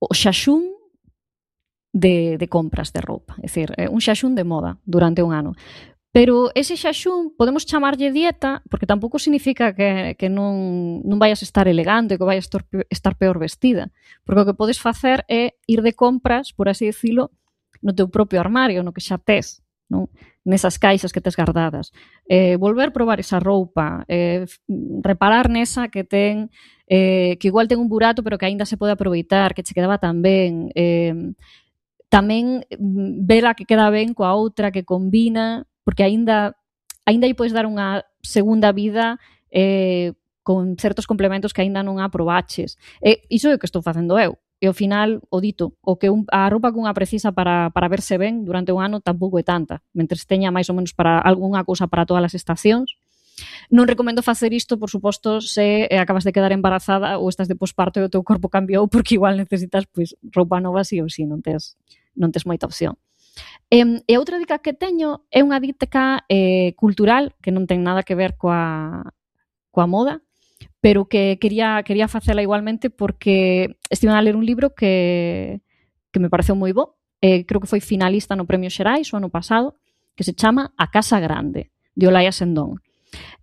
o xaxún de compras de roupa, é dicir, un xaxún de moda durante un ano. Pero ese xaxún podemos chamarlle dieta porque tampouco significa que non vayas a estar elegante, que vayas a estar peor vestida, porque o que podes facer é ir de compras, por así dicilo, no teu propio armario, no que xa tes, non? Nesas caixas que tes guardadas. Volver probar esa roupa, reparar nesa que ten, que igual ten un burato pero que aínda se pode aproveitar, que che quedaba tan ben, tamén vela que queda ben coa outra, que combina, porque aínda lle podes dar unha segunda vida con certos complementos que aínda non aprobaches. Iso é o que estou facendo eu. E ao final, o dito, o que a roupa que unha precisa para verse ben durante un ano tampouco é tanta, mentres teña máis ou menos para algunha cousa para todas as estacións. Non recomendo facer isto, por suposto, se acabas de quedar embarazada ou estás de posparto e o teu corpo cambiou, porque igual necesitas roupa nova sí ou sí, non tes moita opción. E outra dica que teño é unha dica cultural que non ten nada que ver coa moda, pero que quería facela igualmente porque estive a ler un libro que me pareceu moi bo, creo que foi finalista no Premio Xerais o ano pasado, que se chama A Casa Grande, de Olaya Sendón.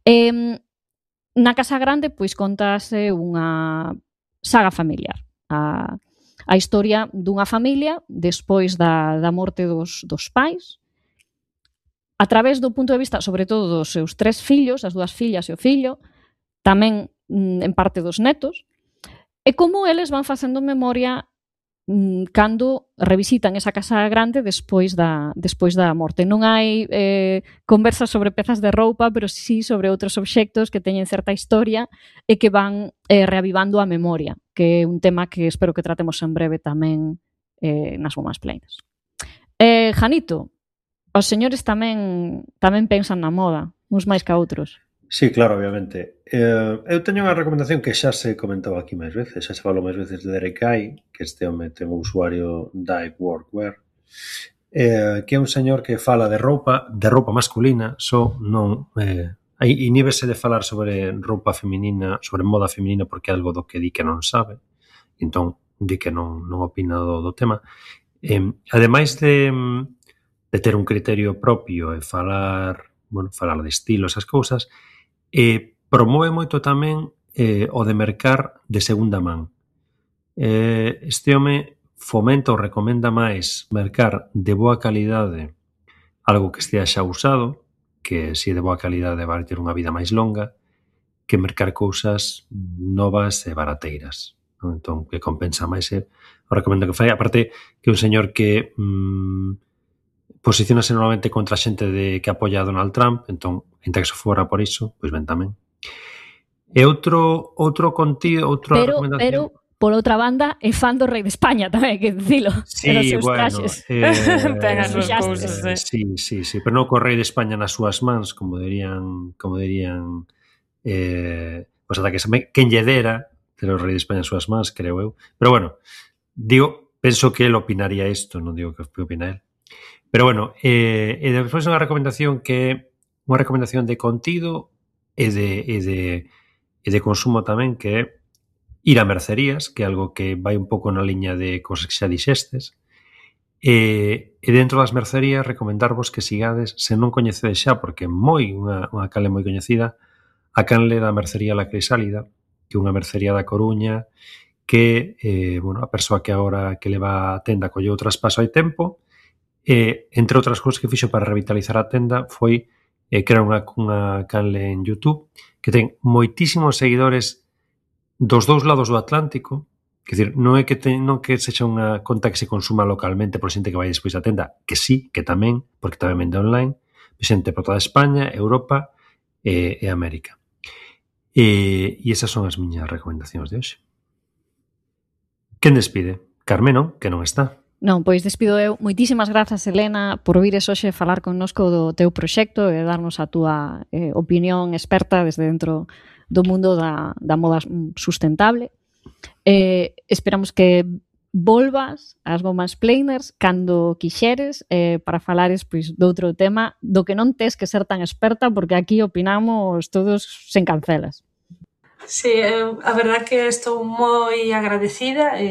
Na Casa Grande, pois, contase unha saga familiar, a historia dunha familia despois da morte dos pais, a través do punto de vista, sobre todo, dos seus 3 fillos, as 2 fillas e o fillo, tamén en parte dos netos, e como eles van facendo memoria cando revisitan esa casa grande despois da morte. Non hai conversas sobre pezas de roupa, pero sí sobre outros obxectos que teñen certa historia e que van reavivando a memoria, que é un tema que espero que tratemos en breve tamén nas Women's Planes. Janito, os señores tamén pensan na moda, uns máis que outros. Sí, claro, obviamente. Eu teño unha recomendación que xa se comentou aquí máis veces, xa se falou máis veces de Derek Ai, que este home ten o usuario Dive Workwear, que é un señor que fala de roupa masculina, non inhíbese de falar sobre roupa feminina, sobre moda feminina, porque é algo do que di que non sabe, entón di que non opina do tema. Ademais de ter un criterio propio e falar de estilo, esas cousas, promove moito tamén o de mercar de segunda man. Este home fomenta ou recomenda máis mercar de boa calidade algo que estea xa usado, que se é de boa calidade vai ter unha vida máis longa, que mercar cousas novas e barateiras. Entón, que compensa máis o recomendo que fai. Aparte, que é un señor que posicionase normalmente contra a xente que apoia a Donald Trump, entón, enta que se fora por iso, pois ben tamén. E outro contido, outra recomendación... Pero, por outra banda, é fan do rei de España tamén, que dicilo. Sí, bueno... Ten as súas cousas, Sí, pero non co rei de España nas súas mans, como dirían os ataques. Quen lle dera ter o rei de España nas súas mans, creo eu. Pero bueno, penso que el opinaría isto, non digo que opina el. Pero bueno, e despois unha recomendación que é unha recomendación de contido e de consumo tamén, que é ir a mercerías, que é algo que vai un pouco na liña de cosas que xa dixestes, e dentro das mercerías recomendarvos que sigades, se non coñecedes xa, porque é unha canle moi coñecida, a canle da mercería La Crisálida, que é unha mercería da Coruña, que a persoa que agora que leva a tenda colleu o traspaso hai tempo, entre outras cousas que fixo para revitalizar a tenda foi crear unha canle en YouTube que ten moitísimos seguidores dos dous lados do Atlántico, que decir, non é que sexa unha conta que se consuma localmente por xente que vai despois da tenda, que sí, que tamén, porque tamén vende online, xente por toda España, Europa e América. E esas son as miñas recomendacións de hoxe. Quen despide? Carmeno, que non está. Non, pois despido eu. Moitísimas grazas, Helena, por vires hoxe falar connosco do teu proxecto e darnos a túa opinión experta desde dentro do mundo da moda sustentable. Esperamos que volvas ás Women's Planers cando quixeres para falares pois doutro tema do que non tes que ser tan experta, porque aquí opinamos todos sen cancelas. Sí, a verdad que estou moi agradecida